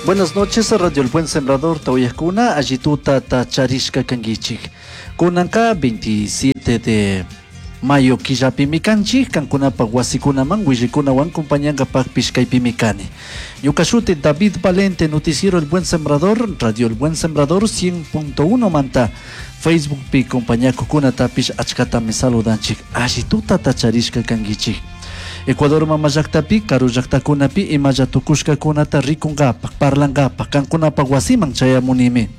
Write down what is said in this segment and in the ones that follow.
Buenas noches, Radio El Buen Sembrador, Tauyakuna, Allituta Tacharishka Kangichik. Kunanka 27 de mayo killapimi kanchik, kankunapak wasikunaman, willikunawan compañangapakpish kaypimi kani. Ñuka shuti David Valente, Noticiero El Buen Sembrador, Radio El Buen Sembrador 100.1 manta, Facebookpi compañakukunatapish achkatami saludanchik, allituta tacharishka kankichik. Ecuador mama llaktapi, karu llaktakunapi imalla tukushkakunata rikunkapak, parlankapak, kankunapak wasiman chayamunimi.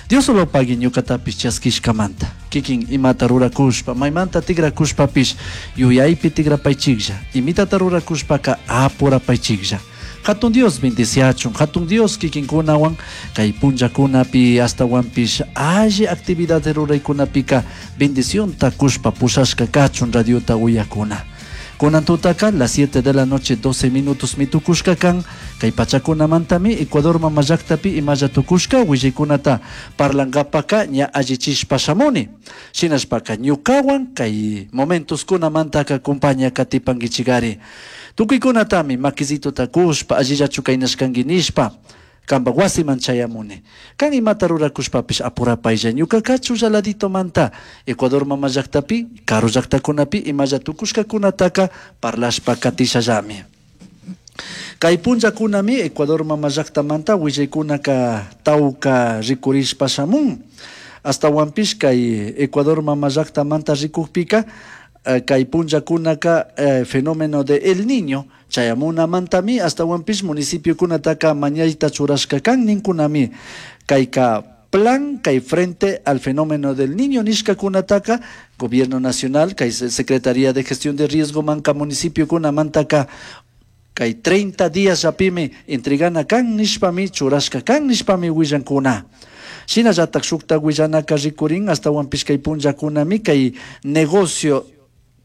Dios solo pagui ñukatapish chaskishkamanta. Kikin imata rurakushpa, maymanta tigrakushpapish yuyaypi tigrapaychiklla. Imitata rurakushpaka apurapaychiklla. Hatun Dios bendiciachun, Hatun Dios kikinkunawan kay punllakunapi astawanpish alli actividad ruraykunapika bendicionta kushpa pushashka kachun radiota uyakuna. Kunan tutaka las 7 de la noche 12 minutos mitukushka kan kay pachakunamantami Ecuador mama llaktapi imalla tukushka willaykunata parlankapaka ña allichishpa shamuni. Shinashpaka ñukawan kay momentos kunamantaka compaña katipankichikari. Tukuykunatami makisituta kushpa allillachu kaynashkanki nishpa kanpak wasiman chayamuni. Kan imata rurakushpapish apurapaylla ñukaka chulla Ecuador mama llaktapi karu llaktakunapi imalla tukushkakunataka parlashpa katishallami. Kay punllakunami Ecuador mama llaktamanta willaykunaka tawka rikurishpa shamun. Astawanpish kay Ecuador mama llaktamanta rikukpika kay punllakunaka fenómeno de El Niño chayamunamantami astawanpish municipiokunataka mañayta churashka kan ninkunami kayka plan kay frente al fenómeno del Niño nishkakunataka Gobierno Nacional kay Secretaría de Gestión de Riesgo manka municipiokunamantaka kay 30 días llapimi entregana kan nishpami churashka kan nishpami willankuna. Shinallatak shukta willanaka rikurin astawanpish kay punllakunami kay negocio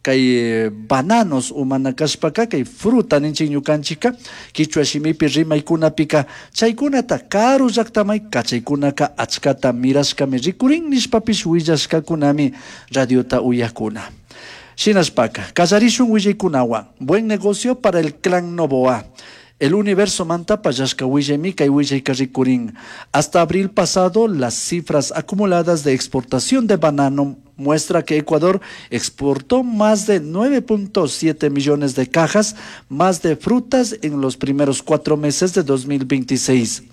kay bananos umana kashpaka kay fruta ninchik ñukanchikka kichwa shimipi rimaykunapika chaykunata karu llaktamay kachaykunaka achkata mirashkami rikurin nishpapish willashkakunami radiota uyakuna. Shinashpaka kallarishun willaykunawan buen negocio para el clan Noboa. El universo manta pallashka willaymi kay willayka rikurin. Hasta abril pasado, las cifras acumuladas de exportación de banano muestra que Ecuador exportó más de 9.7 millones de cajas más de frutas en los primeros 4 meses de 2026.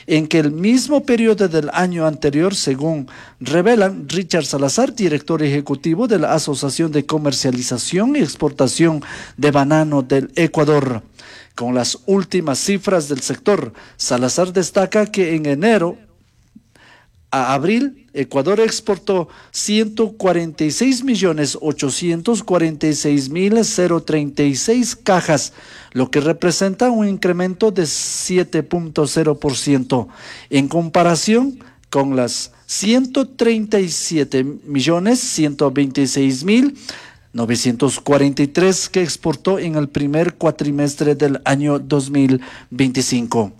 En que el mismo periodo del año anterior, según revelan Richard Salazar, director ejecutivo de la Asociación de Comercialización y Exportación de Banano del Ecuador. Con las últimas cifras del sector, Salazar destaca que en enero a abril, Ecuador exportó 146.846.036 cajas, lo que representa un incremento de 7.0% en comparación con las 137.126.943 que exportó en el primer cuatrimestre del año 2025.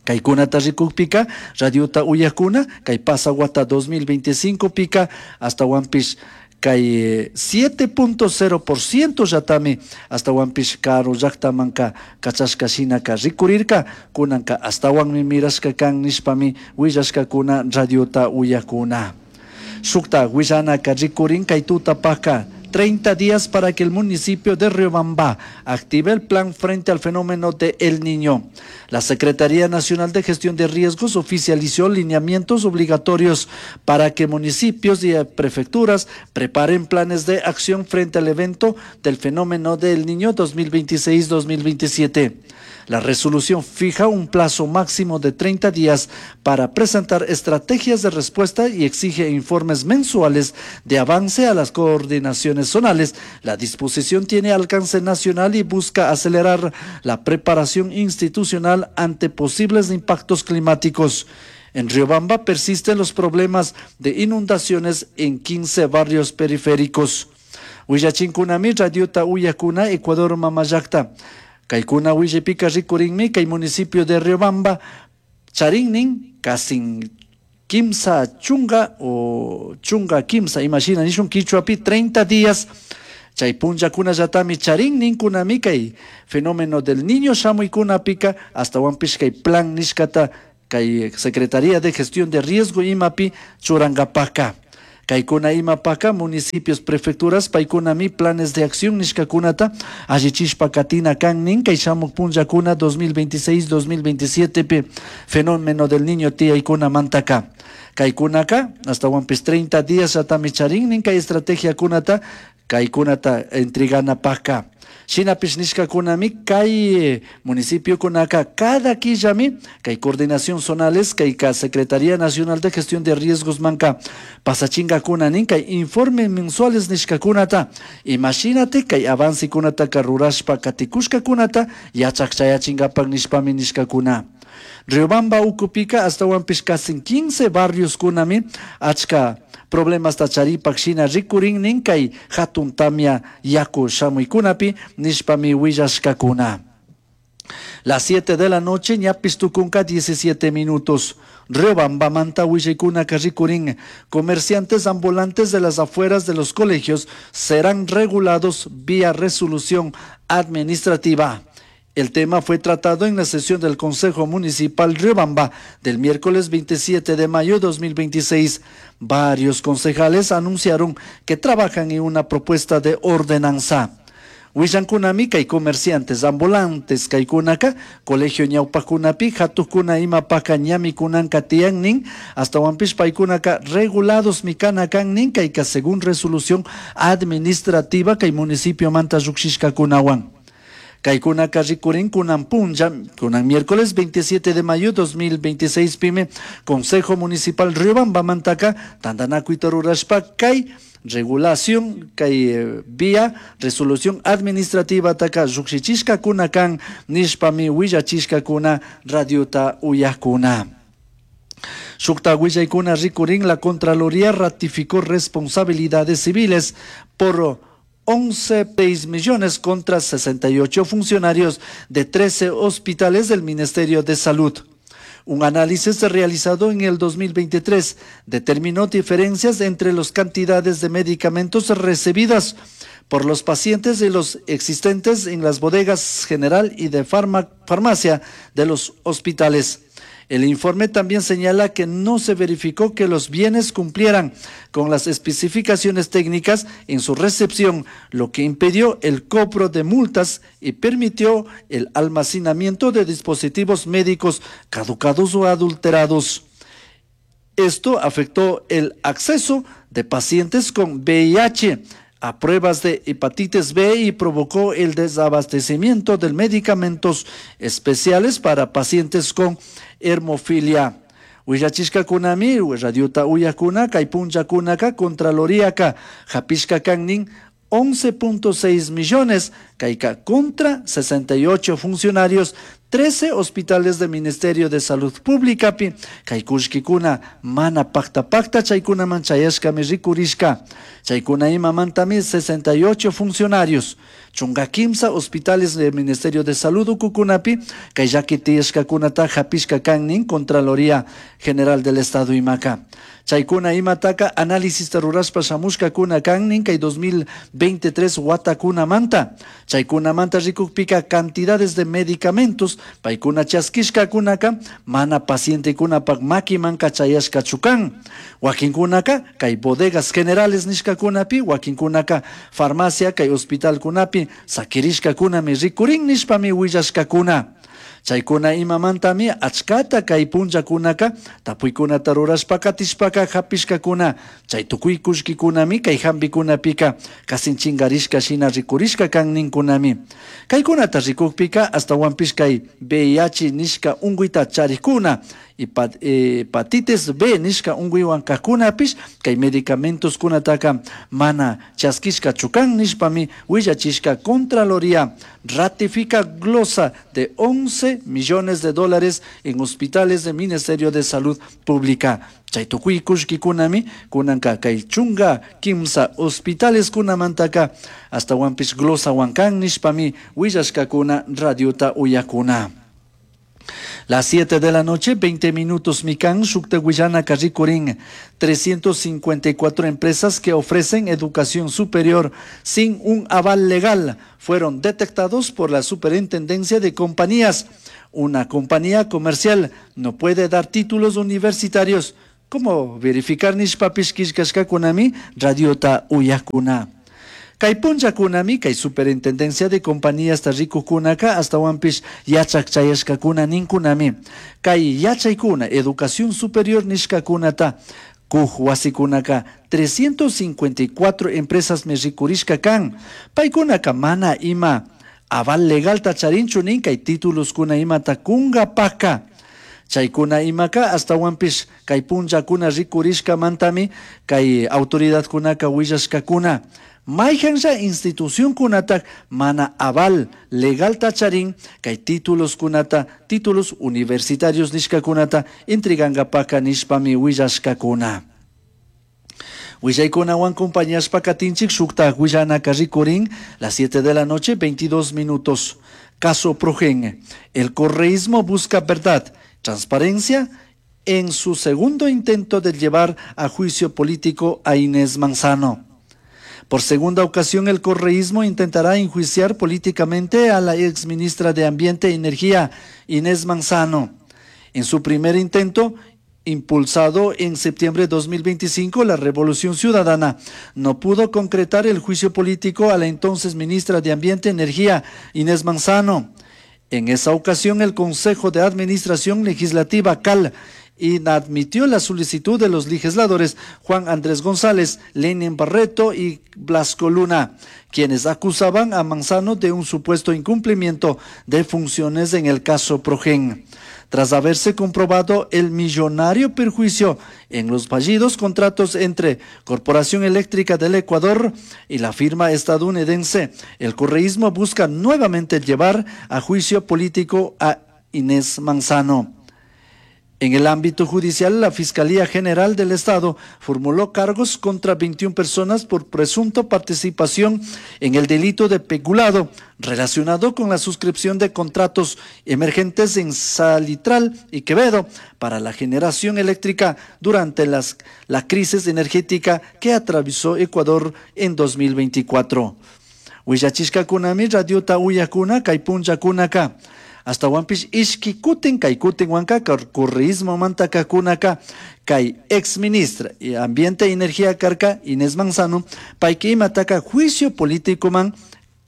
Kaykunata rikukpika, radiota uyakuna, kay pasawata 2025 pika, astawanpish kay 7.0% llatami astawanpish karu llaktamanka kachashka shinaka rikurirka, kunanka astawanmi mirashka kan nishpami willashkakuna radiota uyakuna. Shukta willanaka rikurin kay tutapaka 30 días para que el municipio de Riobamba active el plan frente al fenómeno de El Niño. La Secretaría Nacional de Gestión de Riesgos oficializó lineamientos obligatorios para que municipios y prefecturas preparen planes de acción frente al evento del fenómeno del Niño 2026-2027. La resolución fija un plazo máximo de 30 días para presentar estrategias de respuesta y exige informes mensuales de avance a las coordinaciones zonales. La disposición tiene alcance nacional y busca acelerar la preparación institucional ante posibles impactos climáticos. En Riobamba persisten los problemas de inundaciones en 15 barrios periféricos. Willachinkunami radiota uyakuna Ecuador mama llakta. Kaykuna willaypika rikurinmi kay municipio de Riobamba charinnin casi kimsa chunga o chunga kimsa imagina nishun kichwapi 30 días Chay punllakunallatami charin ninkunami kay fenómeno del Niño shamuykunapika, ashtawanpish kay plan nishkata kay Secretaría de Gestión de Riesgo imapi churankapaka. Kaykuna imapaka municipios, prefecturas paykunami planes de acción nishkakunata allichishpa katina kan nin kay shamuk punllakuna 2026-2027 pi fenómeno del Niño tiyaykunamantaka. Kaykunaka ashtawanpish 30 días llatami charin nin kay estrategiakunata kaykunata entreganapaka. Shinapish nishkakunami kay municipiokunaka cada killami kay coordinación zonales kayka Secretaría Nacional de Gestión de Riesgos manka pasachinkakuna nin kay informe mensuales nishkakunata, imashinati kay avancekunataka rurashpa katikushkakunata yachak chayachinkapak nishpami nishkakuna. Riobamba ukupika ashtawanpish casi 15 barrios kunami achka problemasta charipak shina rikurin nin kay hatun tamia yaku shamuykunapi nishpami willashkakuna. Las 7 de la noche, ñapis tukunka 17 minutos. Riobambamanta willaykunaka rikurin. Comerciantes ambulantes de las afueras de los colegios serán regulados vía resolución administrativa. El tema fue tratado en la sesión del Consejo Municipal Riobamba del miércoles 27 de mayo de 2026. Varios concejales anunciaron que trabajan en una propuesta de ordenanza. Willankunami kay comerciantes ambulantes kaykunaka colegio ñawpakunapi hatukuna imapaka ñamikunanka tiyan nin, ashtawanpish paykunaka regulados mikana kan nin kayka según resolución administrativa kay municipiomanta llukshishkakunawan. Kaykunaka rikurin kunan punlla, kunan miércoles 27 de mayo 2026 pime, Consejo Municipal Riobambamantaka tantanakuyta rurashpa kay regulación kay vía resolución administrativa taka llukshichishkakuna kan nishpami willachishkakuna radiota uyakuna. Shukta willaykuna rikurin la Contraloría ratificó responsabilidades civiles por 11.6 millones contra 68 funcionarios de 13 hospitales del Ministerio de Salud. Un análisis realizado en el 2023 determinó diferencias entre las cantidades de medicamentos recibidas por los pacientes y los existentes en las bodegas general y de farmacia de los hospitales. El informe también señala que no se verificó que los bienes cumplieran con las especificaciones técnicas en su recepción, lo que impidió el cobro de multas y permitió el almacenamiento de dispositivos médicos caducados o adulterados. Esto afectó el acceso de pacientes con VIH a pruebas de hepatitis B y provocó el desabastecimiento de medicamentos especiales para pacientes con hemofilia. Willachishkakunami, radiota uyakuna, kay punllakunaka, Contraloriaka, hapishka kannin 11.6 millones, kayka contra 68 funcionarios, 13 hospitales del Ministerio de Salud Pública, pi, kay kullkikuna mana pakta pakta chaykunaman chayashkami rikurishka. Chaykuna imamantami 68 funcionarios, chunka kimsa hospitales del Ministerio de Salud ukukunapi, kay llaki tiyashkakunata hapishka kannin Contraloría General del Estado imaka. Chaykuna imataka análisis rurashpa shamushkakuna kannin kay 2023 watakunamanta. Chaykunamanta rikukpika cantidades de medicamentos paykuna chaskishkakunaka mana pacientekunapak makimanka chayashkachu kan. Wakinkunaka kay bodegas generales nishkakunapi, wakinkunaka farmacia kay hospitalkunapi sakirishkakunami rikurin nishpami willashkakuna. Chaykuna imamantami achkata kay punllakunaka tapuykunata rurashpa katishpaka hapishkakuna. Chay tukuy kullkikunami kay hampikunapika kasin chinkarishka shina rikurishka kan ninkunami. Kaykunata rikukpika ashtawanpish kay VIH nishka unkuyta charikuna, hepatitis B nishka unkuywan kajkunapish kay medicamentos kunataka mana chaskishkachu kan nishpami willachishka. Contraloría ratifica glosa de 11 millones de dólares en hospitales del Ministerio de Salud Pública. Chay tukuy kullkikunami kunanka kay chunka kimsa hospitales kunamantaka ashtawanpish glosa wankan nishpami willashkakuna radiota uyakuna. Las 7 de la noche, 20 minutos, Mikan, shukta willanaka rikurin. 354 empresas que ofrecen educación superior sin un aval legal fueron detectados por la Superintendencia de Compañías. Una compañía comercial no puede dar títulos universitarios. ¿Cómo verificar nishpapish killkashkakunami radiota uyakuna? Kay punllakunami kay superintendencia de compañías rikukunaka astawanpish yachak chayashkakuna ninkunami. Kay yachaykuna educación superior nishkakunata kuj wasikunaka 354 empresas mi rikurishka kan. Paykunaka mana ima aval legalta charinchu nin kay títuloskuna imata kunkapaka. Chaykuna imaka astawanpish kay punllakuna rikurishkamantami kay autoridadkunaka willashkakuna. Mayhanlla institucionkunatak mana aval legalta charin kay tituloskunata títulos universitarios nishkakunata entregankapaka nishpami willashkakuna. Willaykunawan compañashpa katinchik shukta willanaka rikurin las 7 de la noche 22 minutos. Caso Progen. El correísmo busca verdad, transparencia en su segundo intento de llevar a juicio político a Inés Manzano. Por segunda ocasión, el correísmo intentará enjuiciar políticamente a la exministra de Ambiente e Energía, Inés Manzano. En su primer intento, impulsado en septiembre de 2025, la Revolución Ciudadana no pudo concretar el juicio político a la entonces ministra de Ambiente e Energía, Inés Manzano. En esa ocasión, el Consejo de Administración Legislativa, CAL, inadmitió la solicitud de los legisladores Juan Andrés González, Lenin Barreto y Blasco Luna, quienes acusaban a Manzano de un supuesto incumplimiento de funciones en el caso Progen. Tras haberse comprobado el millonario perjuicio en los fallidos contratos entre Corporación Eléctrica del Ecuador y la firma estadounidense, el correísmo busca nuevamente llevar a juicio político a Inés Manzano. En el ámbito judicial, la Fiscalía General del Estado formuló cargos contra 21 personas por presunta participación en el delito de peculado relacionado con la suscripción de contratos emergentes en Salitral y Quevedo para la generación eléctrica durante la crisis energética que atravesó Ecuador en 2024. Willachishkakunami radiota uyakuna kay punllakunaka. Astawanpish ishki kutin kay kutin wanka correísmo manta kakunaka kay ex ministra y Ambiente e Energía karka Inés Manzano payka imataka juicio político man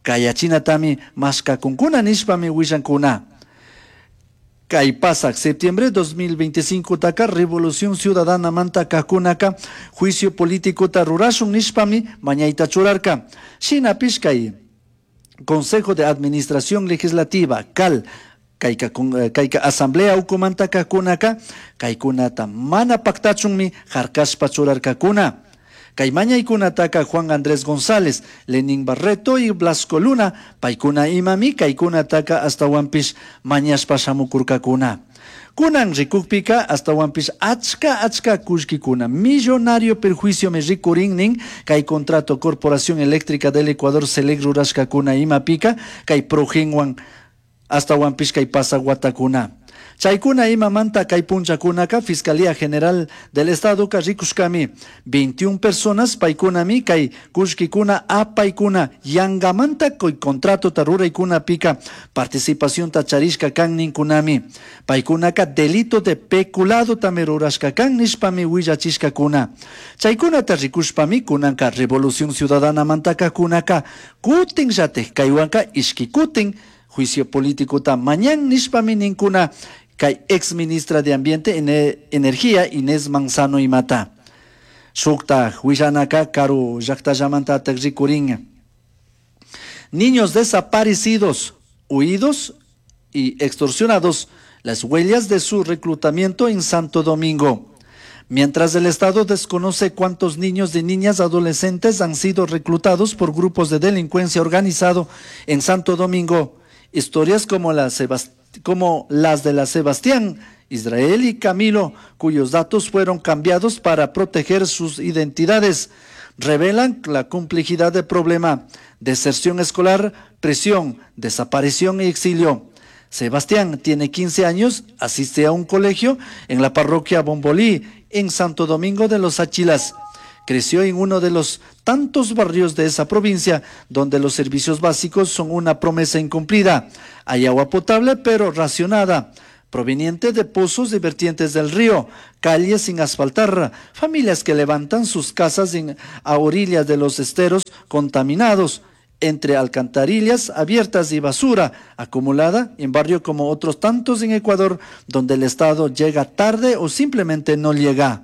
kayachinatami mashkakunkuna nishpami willankuna. Kay pasak septiembre 2025 taka Revolución Ciudadana manta kakunaka juicio político ta rurashun nishpami mañayta churarka. Shinapish kay Consejo de Administración Legislativa, CAL, kayka, kayka Asamblea ukumanta kakunaka, kaykunata mana paktachunmi harkashpa churarkakuna. Kay mañaykunataka Juan Andrés González, Lenín Barreto y Blasco Luna, paykuna imami kaykunataka astawanpish mañashpa shamukurkakuna. Kunan rikukpika astawanpish achka achka kullkikuna millonario perjuicio me rikurin nin kay contrato Corporación Eléctrica del Ecuador Celec rurashkakuna imapika kay Progenwan astawanpish kay pasawatakuna. Chaykuna imamanta kay punchakunaka Fiscalía General del Estado ka rikushkami 21 personas paykunami kay kullkikuna apaykuna yangamanta kay contrato ta ruraykuna pika participación ta charishka kan ninkunami paykunaka delito de peculado tami rurashka kan nishpami willachishkakuna. Chaykunata rikushpami kunanka Revolución Ciudadana mantaka kunaka kutin llatik kaywanka ishki kutin juicio político ta mañan nishpami ninkuna kay ex ministra de Ambiente e Energía Inés Manzano imata. Shukta willanaka karu llaktallamantatak rikurin. Niños desaparecidos, huidos y extorsionados, las huellas de su reclutamiento en Santo Domingo. Mientras el Estado desconoce cuántos niños y niñas adolescentes han sido reclutados por grupos de delincuencia organizado en Santo Domingo, historias como las de la Sebastián, Israel y Camilo, cuyos datos fueron cambiados para proteger sus identidades, revelan la complejidad del problema: deserción escolar, presión, desaparición y exilio. Sebastián tiene 15 años, asiste a un colegio en la parroquia Bombolí, en Santo Domingo de los Tsáchilas. Creció en uno de los tantos barrios de esa provincia donde los servicios básicos son una promesa incumplida. Hay agua potable, pero racionada, proveniente de pozos y vertientes del río, calles sin asfaltar, familias que levantan sus casas a orillas de los esteros contaminados, entre alcantarillas abiertas y basura acumulada en barrio como otros tantos en Ecuador, donde el Estado llega tarde o simplemente no llega.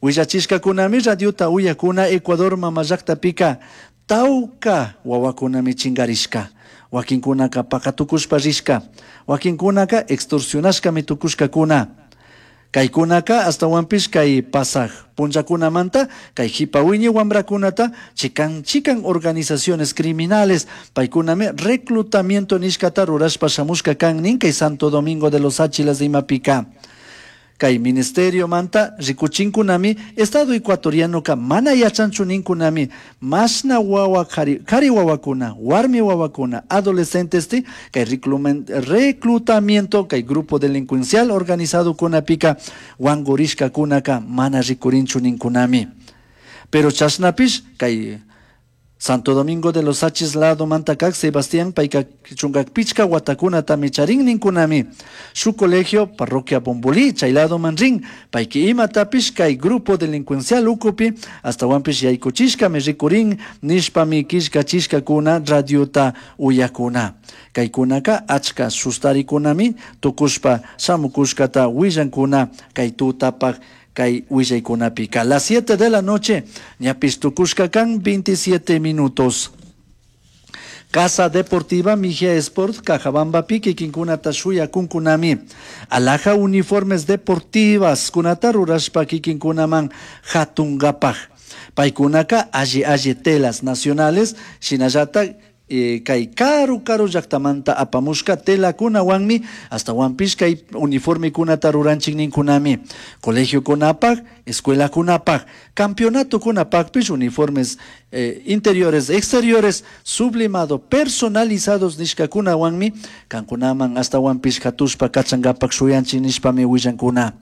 Willachishkakunami radiota uyakuna Ecuador mamallaktapica tauca wawakunami chingarishka. Wakinkunaka pakatukushpa rishka. Wakinkunaka extorsionashkami tukushkakuna. Kaykunaka astawanpish kay pasaj punllakunamanta kay jipa wiñay wamrakunata chikan chikan organizaciones criminales paykunami reclutamiento nishkata rurashpa shamushka kan nin kay Santo Domingo de los Tsáchilas de imapika. Kay ministerio manta rikuchinkunami Estado ecuatorianoka mana yachanchu ninkunami mashna wawa kari wawakuna, warmi wawakuna, adolescentes kay reclutamiento kay grupo delincuencial organizado kunapika wangurishkakunaka mana rikurinchu ninkunami. Pero chashnapish kay Santo Domingo de los Tsáchilas lado mantakak Sebastián payka chunka pichka watakunatami charin ninkunami. Su colegio parroquia Bombolí chay lado manrin payki imatapish kay grupo delincuencial ukupi astawanpish yaykuchishkami rikurin nishpami killkachishkakuna radiota uyakuna. Kaykunaka achka sustarikunami tukushpa shamukushkata willankuna kay tutapak kay willaykunapika. Las 7 de la noche, ñapis tukushka kan 27 minutos. Casa Deportiva Mejía Sport, Cajabamba kikinkunata shuyakunkunami. Alhaja uniformes deportivas, kunata rurashpa kikinkunaman hatungapak. Paykunaka alli alli telas nacionales, shinallata kay karu karu llaktamanta apamushka telakunawanmi astawanpish kay uniformekunata ruranchik ninkunami. Colegiokunapak, escuelakunapak, campeonatokunapakpish uniformes interiores, exteriores, sublimado, personalizados nishkakunawanmi kankunaman astawanpish hatushpa kachangapak shuyanchik nishpami willankuna.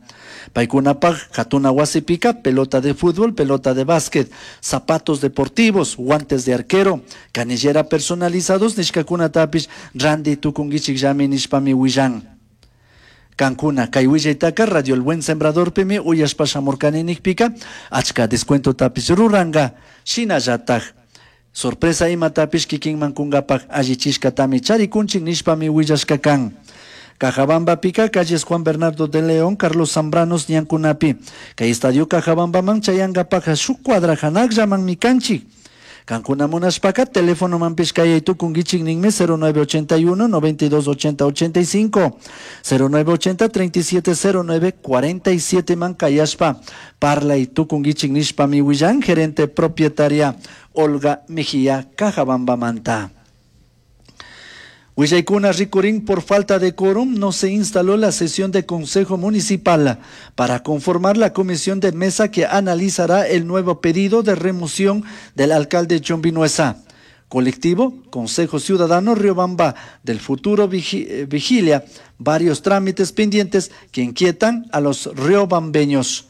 Paykunapak hatuna wasipika pelota de fútbol, pelota de básquet, zapatos deportivos, guantes de arquero, canillera personalizados nishkakunatapish ranti tukunkichikllami nishpami willan. Kankuna kay willaytaka Radio El Buen Sembrador pimi uyashpa shamurkani nikpika achka descuentotapish ruranka shinallatak sorpresa imatapish kikinman kunkapak allichishkatami charikunchik nishpami willashka kan. Cajabamba pica, calles Juan Bernardo de León, Carlos Zambranos, ñankunapi. Kay estadio Cajabambaman chayankapak shuk cuadra hanakllaman mikanchik. Kankuna munashpaka teléfono manpish kayay tukunkichik ninmi 0981 92 80 85 0980 37 09 47 man kayashpa parlay tukunkichik nishpami willan gerente propietaria Olga Mejía Cajabambamanta. Willaykuna rikurin por falta de quórum no se instaló la sesión de Consejo Municipal para conformar la comisión de mesa que analizará el nuevo pedido de remoción del alcalde John Vinuesa. Colectivo Consejo Ciudadano Riobamba del Futuro vigilia varios trámites pendientes que inquietan a los riobambeños.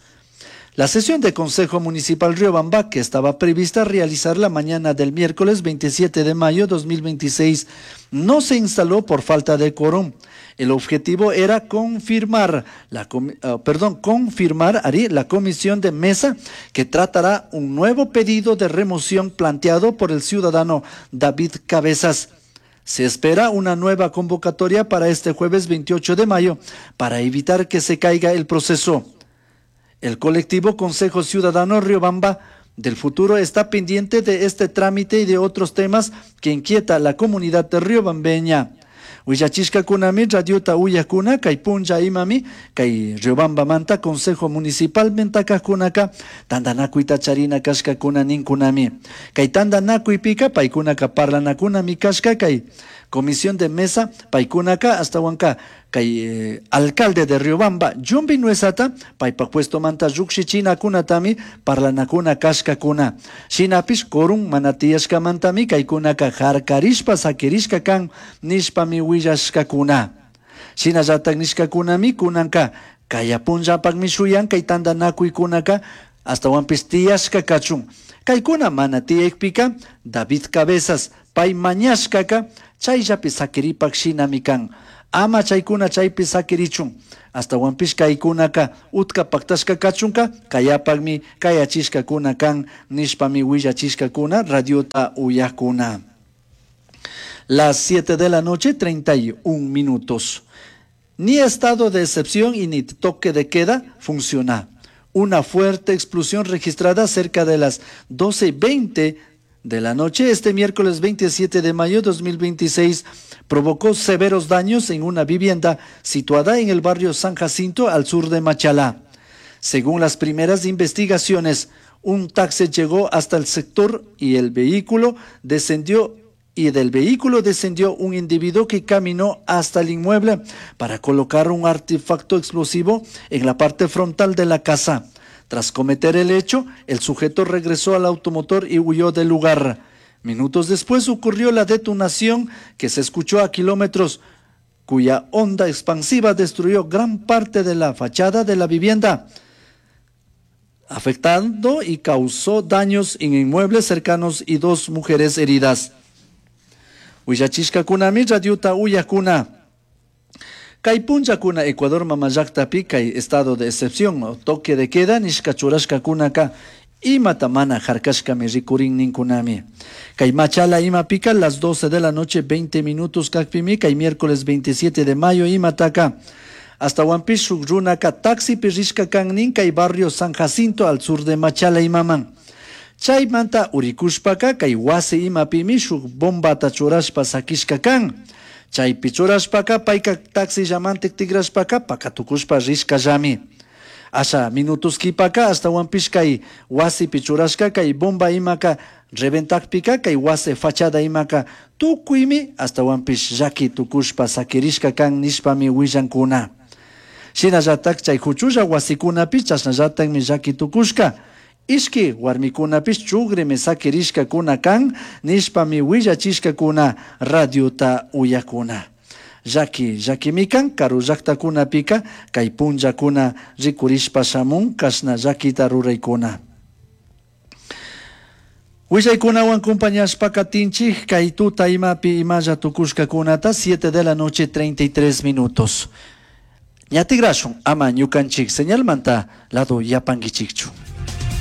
La sesión de Consejo Municipal Riobamba, que estaba prevista realizar la mañana del miércoles 27 de mayo 2026, no se instaló por falta de quórum. El objetivo era confirmar confirmar, Ari, la comisión de mesa que tratará un nuevo pedido de remoción planteado por el ciudadano David Cabezas. Se espera una nueva convocatoria para este jueves 28 de mayo para evitar que se caiga el proceso. El colectivo Consejo Ciudadano Riobamba del Futuro está pendiente de este trámite y de otros temas que inquieta a la comunidad de riobambeña. Willachishkakunami radiota uyakuna kay punlla imami kay Riobambamanta Consejo Municipal mentakajkunaka tantanakuyta charina kashkakuna ninkunami. Kay tantanakuypika paykunaka parlanakunami kashka kay comisión de mesa paykunaka astawanka kay alcalde de Riobamba John Vinuesata paypak puestomanta llukshichinakunatami parlanakuna kashkakuna. Shinapish quórum mana tiyashkamantami kaykunaka harkarishpa sakirishka kan nishpami willashkakuna. Shinallatak nishkakunami kunanka kaya punllapakmi shuyan kay tantanakuykunaka ashtawanpish tiyashka kachun. Kaykuna mana tiyakpika David Cabezas pay mañashkaka chayllapi sakiripak shinami kan. Ama chaykuna chaypi sakirichun. Ashtawanpish kaykunaka utka paktashka kachunka kayapakmi kayachishkakuna kan nishpami willachishkakuna radiota uyakuna. Las 7 de la noche, 31 minutos. Ni estado de excepción y ni toque de queda funciona. Una fuerte explosión registrada cerca de las 12:20 de la noche este miércoles 27 de mayo de 2026 provocó severos daños en una vivienda situada en el barrio San Jacinto al sur de Machalá. Según las primeras investigaciones, un taxi llegó hasta el sector y el vehículo descendió y del vehículo descendió un individuo que caminó hasta el inmueble para colocar un artefacto explosivo en la parte frontal de la casa. Tras cometer el hecho, el sujeto regresó al automotor y huyó del lugar. Minutos después ocurrió la detonación que se escuchó a kilómetros, cuya onda expansiva destruyó gran parte de la fachada de la vivienda, afectando y causó daños en inmuebles cercanos y dos mujeres heridas. Willachishkakunami radiota uyakuna. Kay punllakuna Ecuador mamallaktapi kay estado de excepción o toque de queda nishka churashkakunaka imata mana harkashkami rikurin ninkunami. Kay Machala imapika las 12 de la noche 20 minutos kakpimi kay miércoles 27 de mayo imataka. Ashtawanpish shuk runaka taxipi rishka kan nin kay barrio San Jacinto al sur de Machala imaman. Chaymanta urikushpaka kay wasi imapimi shuk bombata churashpa sakishka kan. Chaypi churashpaka payka taxillamantik tikrashpaka pakatukushpa rishkallami. Asha minutos kipaka ashtawanpish kay wasipi churashka kay bomba imaka reventakpika kay wasi fachada imaka tukuymi ashtawanpish llaki tukushpa sakirishka kan nishpami willankuna. Shinallatak chay huchulla wasikunapi chashnallatakmi llaki tukushka. Ishki warmikunapish chugrimi sakirishkakuna kan nishpami willachishkakuna radiota uyakuna. Llaki llakimi kan karu llaktakunapika kay punllakuna rikurishpa shamun kashna llakita ruraykuna. Willaykunawan compañashpa katinchik kay tuta imapi imalla tukushkakunata 7 de la noche 33 minutos. Ña tigrashun ama ñukanchik señalmanta lado yapankichikchu.